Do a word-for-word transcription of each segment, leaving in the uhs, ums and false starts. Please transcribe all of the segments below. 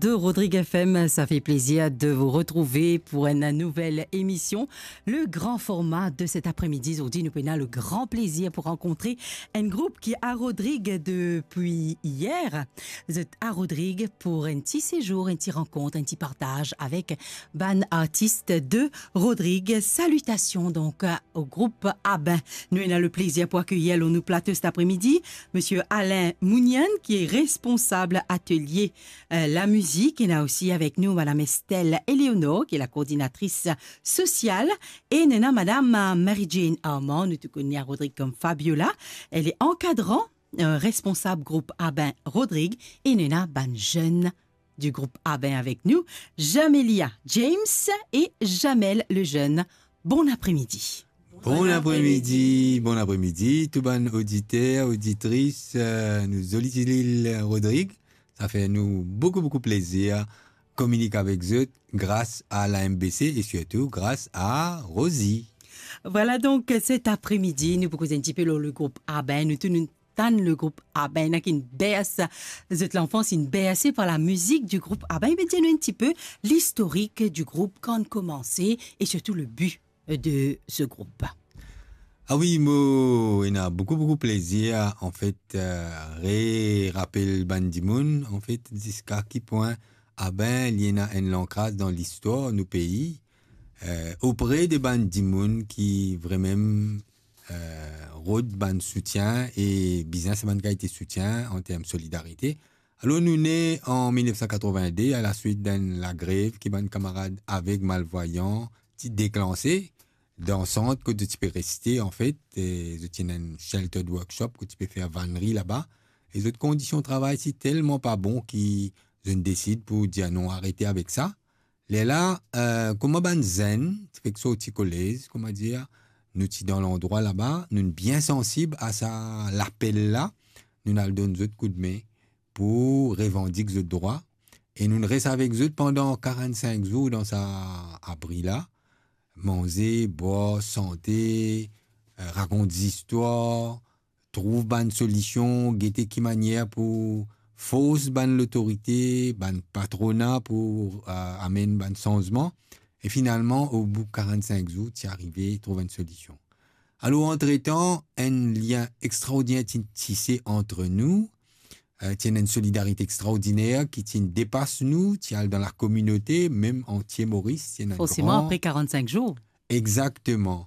de Rodrigue F M, ça fait plaisir de vous retrouver pour une nouvelle émission, le grand format de cet après-midi. Zordi nou pena le grand plaisir pour rencontrer un groupe qui est à Rodrigues depuis hier. Zot à Rodrigues pour un petit séjour, un petit rencontre, un petit partage avec bann artis de Rodrigues. Salutations donc au groupe Abin. Nou ena le plaisir pour accueillir lor nou plato cet après-midi Monsieur Alain Mounian, qui est responsable atelier, euh, la musique. Ena aussi avec nous Madame Estelle Eleonore, qui est la coordinatrice sociale. Et nou ena Madame, euh, Mary Jane Armand, nou tou kone Rodrigues comme Fabiola. Elle est encadrant, euh, responsable groupe Abin Rodrigues. Et nou ena bann zenn du groupe Abin avec nous, Jamelia James et Jamel Lejeune. Bon après-midi. Bon apremidi, bon apremidi, tou bann oditer, oditris, euh, nou zoli ti lil Rodrigues. Sa fer nou boukou, boukou plezir kominik avek zot gras a la M B C e sirtou gras a Rosie. Voilà donc, cet après-midi, nou pou koz un petit peu lor le groupe Abin. Nou tou nou tann le groupe Abin, hein, qui berce zot l'enfance, bercé par la musique du groupe Abin. Ebe, dir nou un petit peu l'historique du groupe, kan komanse e sirtou le but, euh, de ce groupe. Ah wi, mo ena boukou, boukou plezir, anfet, euh, re-rapel bann dimoun, anfet, ziska ki pwin Abin li ena enn lankraz dan listwar nou pei, euh, opre de bann dimoun ki vremem, euh, rod bann soutien e bizin sa bann kalite soutien an term solidarite. Alor, nou ne an mil nef san katrovin-de, a la swit d'enn lagrev ki bann kamarad aveg malvwayan ti deklanse dan sant kot zot ti pe reste, anfet, e zot ti ena enn sheltered workshop kot ti pe fer vanri laba, e zot kondision travay ti telman pa bon ki zot inn desid pou dir non, arete avek sa. Lerla, euh, kouma bann zenn ti fek sorti kolez, kouma dir, nou ti dan landrwa laba, nou bien sansib a sa lapel la, nou al donn zot koudme pou revandik zot drwa, e nou res avek zot pandan karant-sink zour dan sa abri la, manze, bwar, sante, euh, rakont zistwar, trouv bann solision, gete ki manier pou fors bann lotorite, bann patrona pou, euh, amenn bann sanzman. E finalman, obout karant-sink zour, ti arive trouv enn solision. Alor, antretan, enn lien extraordiner ti tise ant nou, euh, ti ena enn solidarite extraordiner ki ti depas nou, ti al dan lakominote, mem antie Moris, ti ena enn Forseman, gran apre karant-sink zour. Exakteman.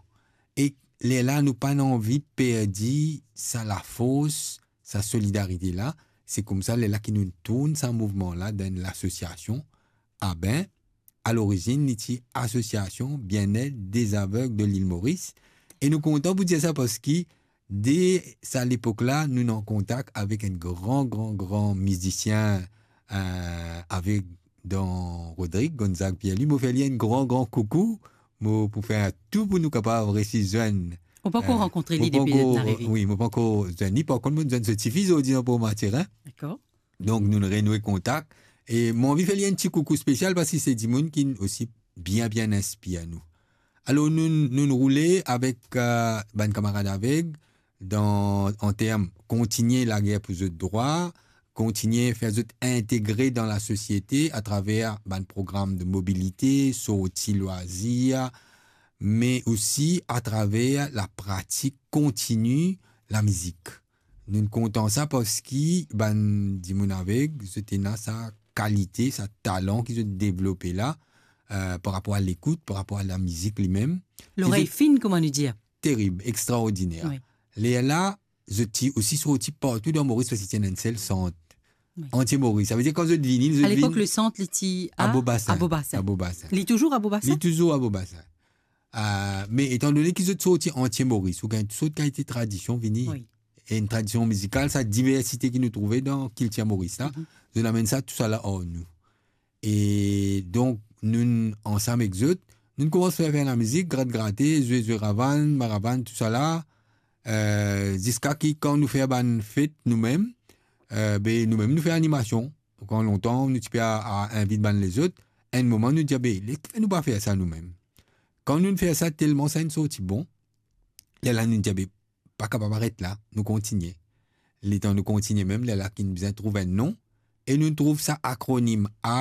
E lerla nou pa'nn anvi perdi sa lafors, sa solidarite la. Se koumsa lerla ki nou tourn sa mouvman la dan lasosiasion Abin. A lorizinn, li ti Association Bien-être des Aveugles de l'Île Maurice. E nou kontan pou dir sa parski de sa lepok la, nou ena kontak avek enn gran, gran, gran mizisien, euh, avek dan Rodrigues, Gonzague Pierre-Louis. Mo fer li enn gran, gran koukou. Mo pou fer tou pou nou kapav resi zwenn. Ou pankor, euh, rankontre li depi zot inn arive? Wi, mo pankor zwenn li. Par kont, mo zwenn so tifi zordi an Port Mathurin. Dakor. Donk, nou renoue kontak. E mo anvi fer li enn ti koukou spesial parski se dimoun ki osi bien, bien inspir nou. Alor, nou, nou roule avek, euh, bann kamarad aveg, dan, an term kontinie lager pou zot drwa, kontinie fer zot integre dan lasosiete atraver bann program de mobilite, sorti lwazir, me osi atraver lapratik kontini lamizik. Nou kontan sa parski bann dimoun aveg, zot ena sa kalite, sa talan ki zot devlope la, euh, par rapor a lekout, par rapor a lamizik limem. Lorey fin, kouma nou dir. Terib, extraordiner. Wi. Lerla, zot ti osi sorti partou dan Moris parski ti ena enn sel sant. Wi. Antie Moris. Savedir kan zot vini, zot vini... A lepok, le sant, li ti a, a Beau-Bassin. A Beau-Bassin. A Beau-Bassin. Li touzour a Beau-Bassin? Li touzour a Beau-Bassin. Euh, me etandone ki zot sorti antie Moris, ou gagn tou sort kalite tradision vini. Wi. E enn tradision mizikal, sa diversite ki nou trouve dan kiltir Moris la, mhm, zot amenn sa, tousala ar nou. E donk, nou ansam ek zot, nou koumans fer, fer lamizik, grat grate, zwe, zwe ravann, maravann, tousala, euh, ziska ki kan nou fer bann fet noumem, euh, be noumem nou fer animasion. Kan lontan, nou ti pe a, a invit bann lezot, enn moman nou dir, be, lekifer nou pa fer sa noumem? Kan nou fer sa, telman sa inn sorti bon, lerla nou dir, be, pa kapav aret la, nou kontinie. Letan nou kontinie mem, lerla ki nou bizin trouv enn non, e nou trouv sa akronim A